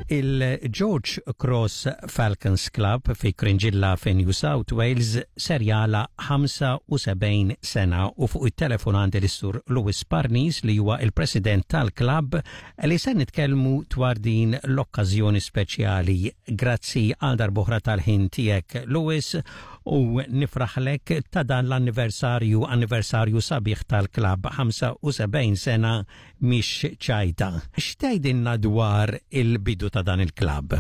Il-George Cross Falcons Club fi Cringilla fi New South Wales ser jagħlaq 75 sena u fuq it-telefon għandi lis-Sur Louis Parnis li huwa il-President tal-klabb li se nitkellmu dwar din l-okkażjoni speċjali. Grazzi għal darb'oħra tal-ħin tiegħek Louis u nifraħlek ta' dan l-anniversarju, anniversarju sabiħ tal-klabb 75 sena mhix ċajta. X'tgħidilna dwar il-bidu ta' dan il-klabb?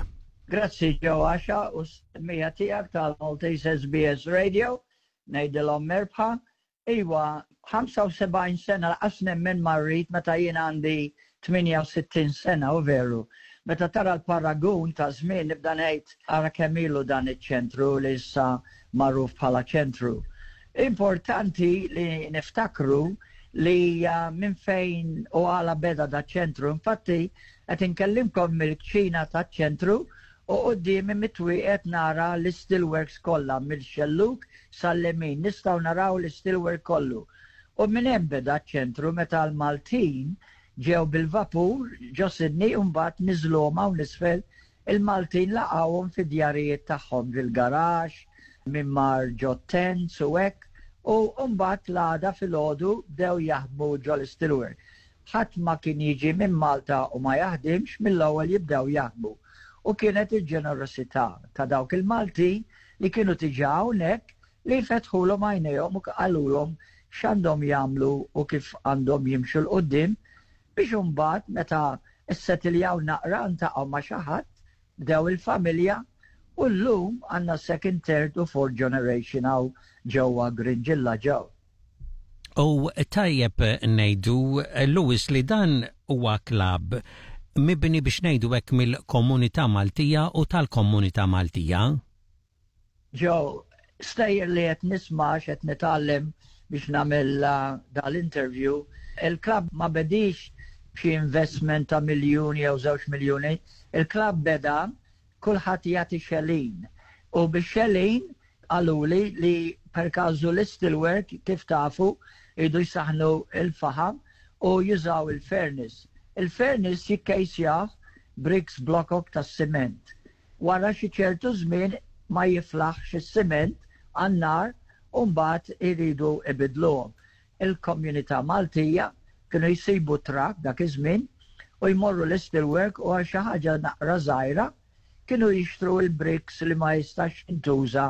Grazzi Joe Axiaq u s-semmiegħa tiegħek tal-Maltese SBS Radio, ngħidilhom merbħa. Iwa, 75 sena lanqas nemmen ma rrid meta jien għandi 68 sena u veru. Meta tara l-paragun ta' żmien nibda ngħid ara kemm ilu dan iċ-ċentru li issa magħruf bħala ċentru. Importanti li niftakru li minn fejn u għala beda da ċentru. Infatti, qed inkellimkom mill-kċina taċ-ċentru u quddiemi mit-twieqet nara l-steelworks kollha mill-xelluk sal-lemin nistgħu naraw l-steelwork kollu. U minn hemm beda ċ-ċentru meta l-Maltin ġew bil-vapur ġo Sydney u mbagħad niżluhom hawn isfel il-Maltin laqgħuhom fid-djarijiet tagħhom fil-garaxx, min mar ġo tents u hekk u mbagħad l-għada filgħodu bdew jaħdmu ġo l-steelwork. Ħadd ma kien jiġi minn Malta u ma jaħdimx mill-ewwel jibdew jaħdmu. U kienet il-ġenerosità ta' dawk il-Maltin li kienu diġà hawnhekk li fetħulhom għajnejhom u qalulhom x'għandhom jagħmlu u kif għandhom jimxu 'l quddiem biex imbagħad meta ssetiljaw naqra ntaqgħu ma' xi ħadd, bdew il-familja u llum għandna second, third u fourth generation hawn ġewwa Cringila ġew. U tajjeb ngħidu, Louis, li dan huwa klabb mibni biex ngħidu hekk mill-komunità Maltija u tal-komunità Maltija. Joe, stejjer li qed nisma' qed nitgħallem biex nagħmel dal-interview, il-klabb ma bedix b'xi investment ta' miljuni jew 2 miljuni, il-klabb beda kulħadd jagħti xelin. U bix xelin qaluli li per każu l-steelwork kif tafu jridu jsaħnu il-faħam u jużaw il-furnace. Il-furnace jikkejsjah bricks blokok tas-siment. Wara xi ċertu żmien ma jiflaħx is-siment għan-nar u mbagħad iridu ibidluhom. Il-komunità Maltija kienu jsibu trak dak iż-żmien u jmorru l-steelwork u għal xi ħaġa naqra żgħira kienu jixtru il-bricks li ma jistax jintuża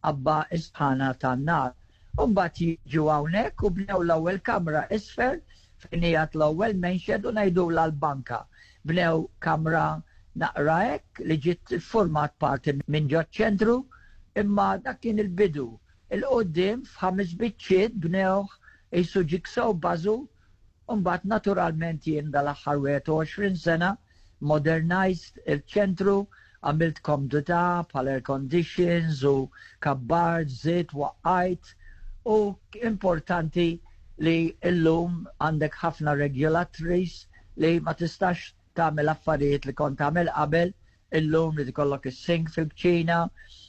għabba is-sħana tan-nar. U mbagħad jiġu hawnhekk u bnew l-ewwel kamra isfel fejn qiegħed l-ewwel men's shed u ngħidulha l-banka. Bnew kamra naqra hekk li ġiet format parti minn ġo ċentru imma dak kien il-bidu. 'Il quddiem f'ħames biċċiet bnewh qisu jigsaw puzzle u mbagħad naturalment jien dal-aħħar 21 sena modernized il-ċentru, għamilt komdità bħal air conditions u kabbart, żidt, waqqajt u importanti li illum għandek ħafna regulatories li ma tistax tagħmel affarijiet li kont tagħmel qabel illum li tikollok is-sink fil-kċina,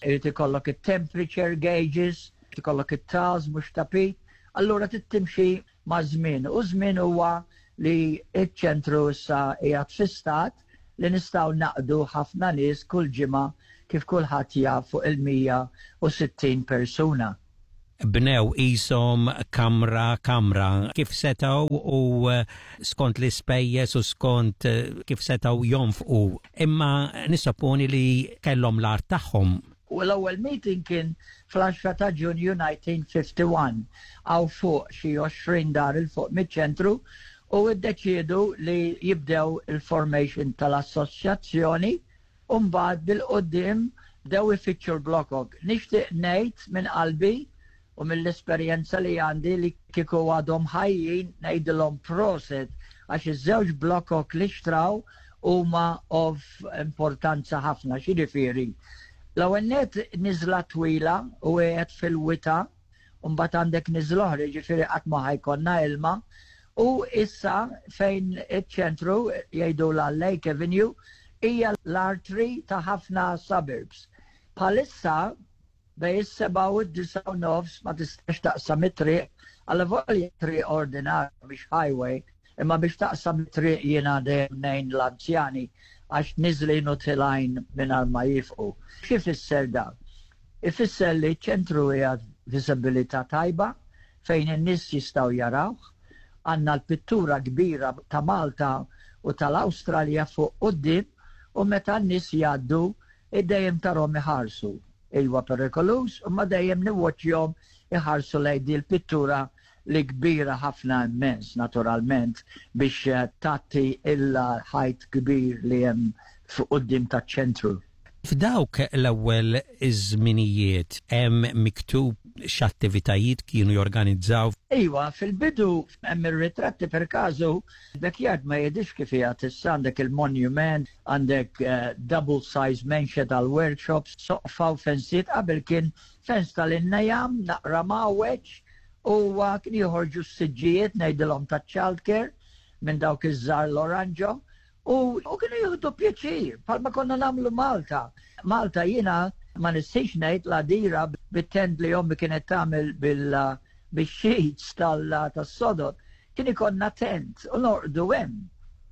irid ikollok it-temperature gauges, tikollok it-tiles mhux tapit, allura trid timxi ma' żmien. U żmien huwa li iċ-ċentru issa qiegħed fi stat li nistgħu naqdu ħafna nies kull ġimgħa kif kulħadd jaf fuq il-160 persuna. Bnew qishom kamra kamra kif setgħu u skont l-ispejjeż u skont kif setgħu jonfqu. Imma nissupponi li kellhom l-art tagħhom. U l-ewwel meeting kien fl-10 ta' Ġunju 1951 hawn fuq xi 20 dar 'il fuq miċ-ċentru u iddeċiedu li jibdew il-formation tal-assoċjazzjoni u mbagħad bil-quddiem bdew ifittxu l-blokok. Nixtieq ngħid minn qalbi u mill-esperjenza li għandi li kieku għadhom ħajjin ngħidilhom prosit għax iż-żewġ blokok li xtraw huma of importanza ħafna, x'jiġifieri. L-ewwel net niżla twila u qiegħed fil-wita u mbagħad għandek niżla oħra, jiġifieri qatt ma ħa jkollna ilma. U issa fejn iċ-ċentru jgħidu la Lake Avenue hija l-artery ta' ħafna suburbs. Bħalissa bejn is-7 u d-9:30 ma tistax taqsam it-triq, għalavolja triq ordinarja mhix highway, imma biex taqsam it-triq jiena dejjem ngħin l-anzjani. għax niżlin u tilgħin mingħajr ma jifqu. X'ifisser dan? Ifisser li ċ-ċentru qiegħed viżibilità tajba fejn in-nies jistgħu jarawh. Għandna l-pittura kbira ta' Malta u tal-Awstralja fuq quddiem u meta n-nies jgħaddu dejjem tarhom iħarsu. Iwa perikoluż, imma dejjem niwwoċċjhom iħarsu lejn din il-pittura li kbira ħafna immens naturalment biex tgħatti il-ħajt kbir li hemm fuq quddiem taċ-ċentru. F'dawk l-ewwel iż-żminijiet hemm miktub x'attivitajiet kienu jorganizzaw? Iwa, fil-bidu hemm ir-ritratti per każu backyard ma jidhirx kif qiegħed issa għandek il-monument, għandek double size menxa tal-workshops, soqfa u fensiet qabel kien fens tal-innejam naqra mgħawweġ u kien joħorġu s-siġġijiet ngħidilhom taċ-childcare minn dawk iż-żgħar l-oranġo U, u kienu jieħdu pjaċir, bħalma konna nagħmlu Malta. Malta jiena ma nistix ngħid l-għadira bit-tent li ommi kienet tagħmel bil bix-sheets tas-sodod, kien ikollna tent u norqdu hemm.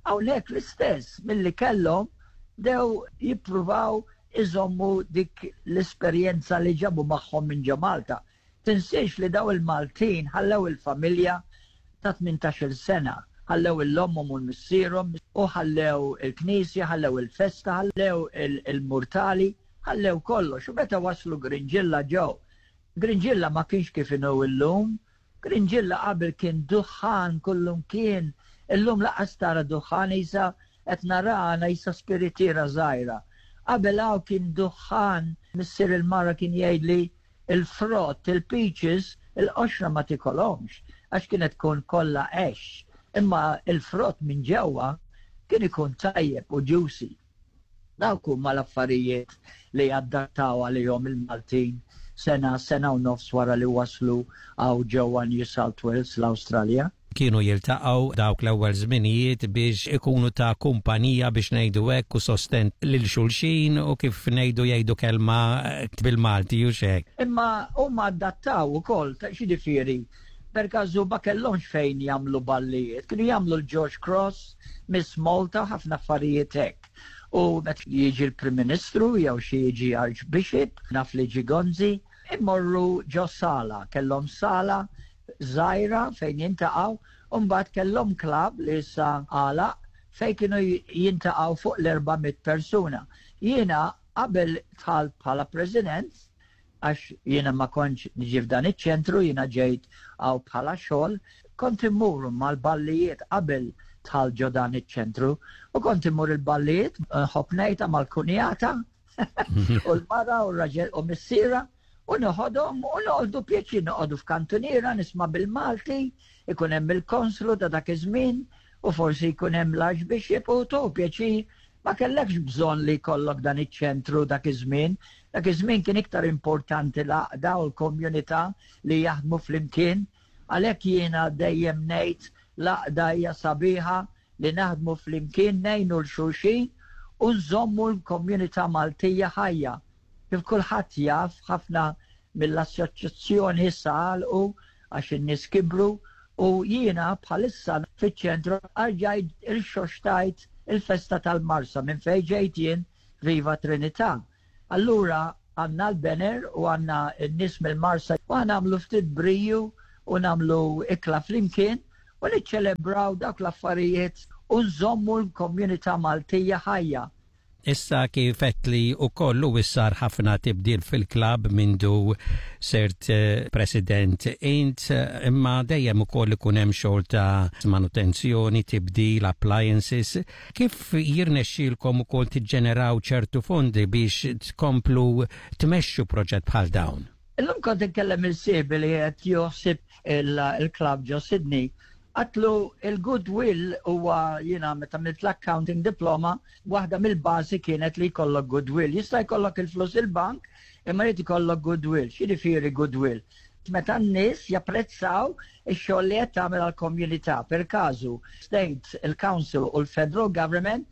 Hawnhekk l-istess milli kellhom bdew jippruvaw iżommu dik l-esperjenza li ġabu magħhom minn ġo Malta. Tinsiex li daw il-Maltin ħallew il-familja ta' 18-il sena, ħallew il-ommhom u l-missierhom u ħallew il-knisja, ħallew il-festa, ħallew il-murtali, ħallew kollox. U meta waslu Grinġilla ġew. Grinġilla ma kienx kif inhu illum. Grinġilla qabel kien duħħan kullumkien. Illum lanqas tara duħħan isa qed narana isa spiritiera żgħira. Qabel hawn kien duħħan, missier il-mara kien jgħidli Il-frott, il-peaches, il-qoxra ma tikolhomx għax kienet tkun kollha għexx, imma il-frott minn ġewwa kien ikun tajjeb u juicy. Dawk huma l-affarijiet li adattaw għalihom il-Maltin sena, sena u nofs wara li waslu hawn ġewwa New South Wales, l-Awstralja. Kienu jiltaqgħu dawk l-ewwel żminijiet biex ikunu ta' kumpanija biex ngħidu hekk u sosten lil xulxin u kif ngħidu jgħidu kelma bil-Malti u xek. Imma huma adattaw ukoll, ta' x'jiġifieri, per każu ma kellhomx fejn jagħmlu ballijiet, kienu jagħmlu l-George Cross, Miss Malta, ħafna affarijiet hekk. U meta jiġi l-Prim Ministru jew xi jiġi Archbishop, naf li ġie Gonzi, immorru ġo sala, kellhom sala żgħira fejn jintaqgħu u mbagħad kellhom club li issa għalaq fejn kienu jintaqgħu fuq l-400 persuna. Jiena qabel dħalt bħala president, għax jiena ma kontx niġi f'dan iċ-ċentru, jiena ġejt hawn bħala xogħol, kont immur mal-ballijiet qabel dħalt ġo dan iċ-ċentru u kont immur il-ballijiet nħobb ngħidha mal-kunjata u l-mara u r-raġel u missiera u noħodhom u noqogħdu pjaċir noqogħdu f'kantuniera nisma' bil-Malti, ikun hemm il-konslu ta' dak iż-żmien u forsi jkun hemm l-Archbishop u tieħu pjaċir ma kellekx bżonn li jkollok dan iċ-ċentru dak iż-żmien. Dak iż-żmien kien iktar importanti l-għaqda u l-komunità li jaħdmu flimkien. Għalhekk jiena dejjem ngħid l-għaqda hija sabiħa li naħdmu flimkien ngħinu 'l xulxin u nżommu l-komunità Maltija ħajja. Kif kulħadd jaf, ħafna mill-assoċjazzjoni issa għalqu għax in-nies kibru u jiena bħalissa fiċ-ċentru rġajt irxoxtajt il-festa tal-Marsa minn fejn ġejt jien Viva Trinità. Allura għandna l-banner u għandna n-nies mill-Marsa u ħa nagħmlu ftit briju u nagħmlu ikla flimkien u niċċelebraw dawk l-affarijiet u nżommu l-komunità Maltija ħajja. Issa kif għedtli wkoll u sar ħafna tibdil fil-klabb mindu sirt president int, imma dejjem ukoll ikun hemm xogħol ta' manutenzjoni, tibdil, appliances. Kif jirnexxielkom ukoll tiġġeneraw ċertu fondi biex tkomplu tmexxu proġett bħal dawn? Illum kont inkellem il-sieħbi li qed joħsib il-klabb ġo Sydney. Għatlu il-goodwill huwa jiena meta għamilt l-accounting diploma, waħda mill-bażi kienet li jkollok goodwill. Jista' jkollok il-flus il-bank, imma jrid ikollok goodwill. X'jiġifieri goodwill? Meta n-nies japprezzaw ix-xogħol li qed tagħmel għall-komunità. Per każu, state, il-council u l-federal government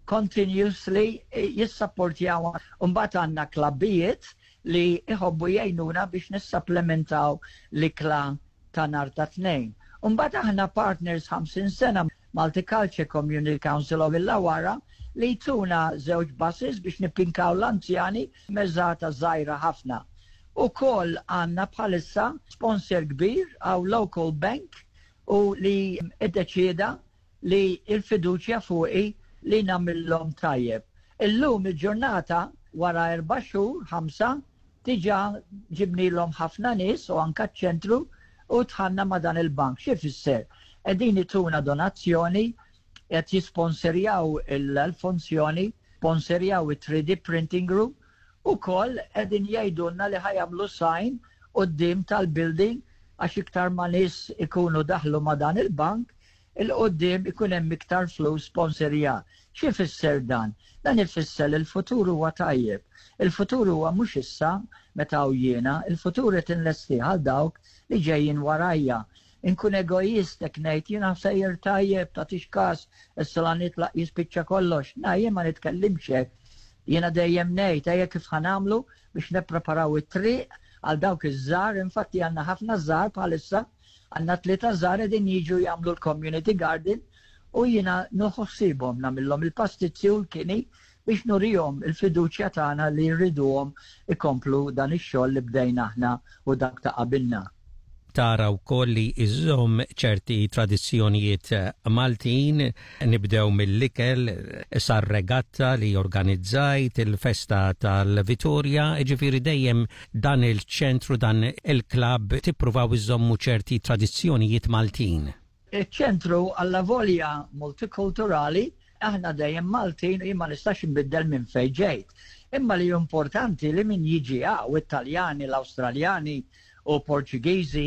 continuously jissapportjaw. Mbagħad għandna klabbijiet li jħobbu jgħinuna biex nissapplementaw l-ikla ta' nhar ta' Tnejn. Mbagħad aħna partners 50 sena Multiculture Community Council of Illawarra li tuna żewġ buses biex nippinkaw l-anzjani mezzata żgħira ħafna. Ukoll għandna bħalissa sponsor kbir għaw local bank u li iddeċieda li il-fiduċja fuqi li nagħmillhom tajjeb. Illum il-ġurnata wara 4 xhur, 5, diġà ġibnilhom ħafna nies u anka ċentru u dħalna ma' dan il-bank. Xi fisser? Qegħdin ituna donazzjoni, qed jisponserjaw il-funzjoni, sponserjaw il-3D printing room u koll qegħdin jgħidulna li ħa jagħmlu sign quddiem tal-building għax iktar ma nies ikunu daħlu ma' dan il-bank, il-quddiem ikun hemm iktar flus sponsorja. Xi fisser dan? Dan ifisser li l-futur huwa tajjeb. Il-futur huwa mhux issa meta jiena, il-futur qed inlesti għal dawk li ġejjin warajja. Inkun egoist jekk ngħid jiena sejjer tajjeb tagħtix kas, issa la nitlaq jispiċċa kollox. Na, jien ma nitkellimx hekk. Jiena dejjem ngħid ejja kif ħa nagħmlu biex nippreparaw it-triq għal dawk iż-żgħar, infatti għandna ħafna żgħar bħalissa, għandna tlieta żgħar qegħdin jiġu jagħmlu l-community garden u jiena nieħu ħsiebhom nagħmilhom il-pastizzi u l-kini biex nurihom il-fiduċja tagħna li rriduhom ikomplu dan ix-xogħol li bdejna aħna u dak ta' qabilna. Tara wkoll li iżżomm ċerti tradizzjonijiet Maltin, nibdew mill-ikel, sar-regatta li organizzajt, il-festa tal-Vitorja, ġifieri dejjem dan il-ċentru, dan il-klabb tippruvaw iżommu ċerti tradizzjonijiet Maltin. Iċ-ċentru għalla volja multikulturali, aħna dejjem Maltin u jien ma nistax nbiddel minn fejn ġejt. Imma li importanti li min jiġi hawn, Italjani, l-Awstraljani u Portugiżi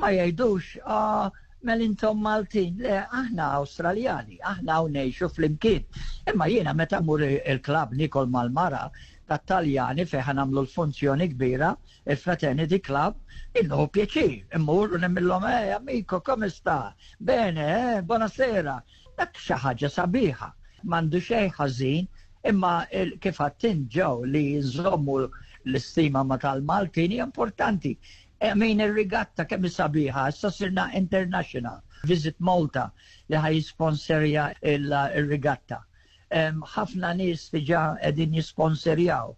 ma jgħidux, "Ah, mel intom Maltin." Le, aħna Awstraljani, aħna hawn ngħixu flimkien. Imma jiena meta mur il-klabb nikol mal-mara tat-Taljani fejn ħa nagħmlu l-funzjoni kbira, il-Fraternity Club, innu pjaċir, immur u ngħidilhom, "Eh, amico, come sta? Bene, eh, buonasera." Dak xi ħaġa sabiħa. M'għandu xejn ħażin, imma kif għedt Joe li nżommu l-istima ma tal-Maltin hija importanti. I mean, il-regatta kemm sabiħa, issa sirna international. Visit Malta li ħa jisponserja il-regatta. Ħafna nies diġà qegħdin jisponserjaw.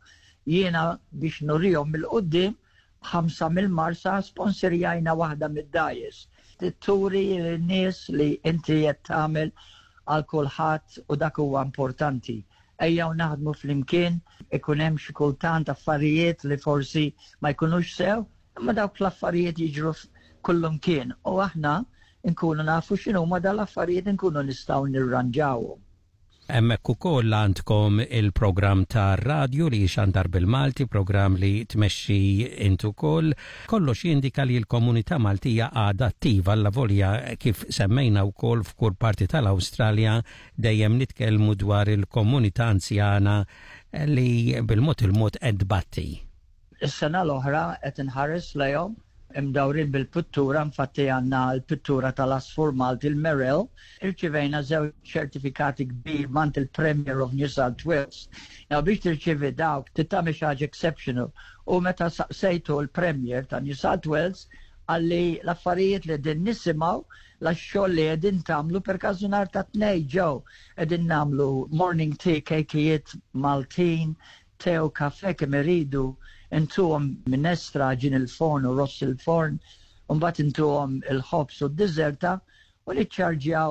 Jiena biex nurihom mill-qudiem ħamsa mill-Marsa sponsorjajna waħda mid-dgħajjes. Turi l-nies li inti qed tagħmel għal kulħadd u dak huwa importanti. Ejjew naħdmu flimkien, ikun hemm xi kultant affarijiet li forsi ma jkunux sew, imma dawk l-affarijiet jiġru kullum kien u aħna nkunu nafu x'inhuma dal-affarijiet, nkunu nistgħu nirranġawhom. Hemmhekk ukoll għandkom il-programm ta' radio li xandar bil-Malti, programm li tmexxi int ukoll. Kollox jindika li l-komunità Maltija għadha attiva allavolja kif semmejna wkoll f'kull parti tal-Awstralja dejjem nitkellmu dwar il-komunità anzjana li bil-mod il-mod qed tbatti. Is-sena l-oħra qed inħares lejhom imdawrin bil-pittura, infatti għandna l-pittura tal-Asfur Malti, il-Merel, irċivejna żewġ ċertifikati kbir mingħand il-Premier of New South Wales. Now biex tirċivi dawk, titgħamel xi ħaġa exceptional. U meta saqsejtu l-Premier ta' New South Wales, qalli l-affarijiet li din nisimgħu la xogħol li qegħdin tagħmlu per każu nhar ta' Tnejn ġew qegħdin nagħmlu morning tea, kejkijiet Maltin, te u kafe kemm iridu, intuhom minestra għaġin il-forn u ross il-forn, u mbagħad intuhom il-ħobż u d-diżerta u niċċarġjaw.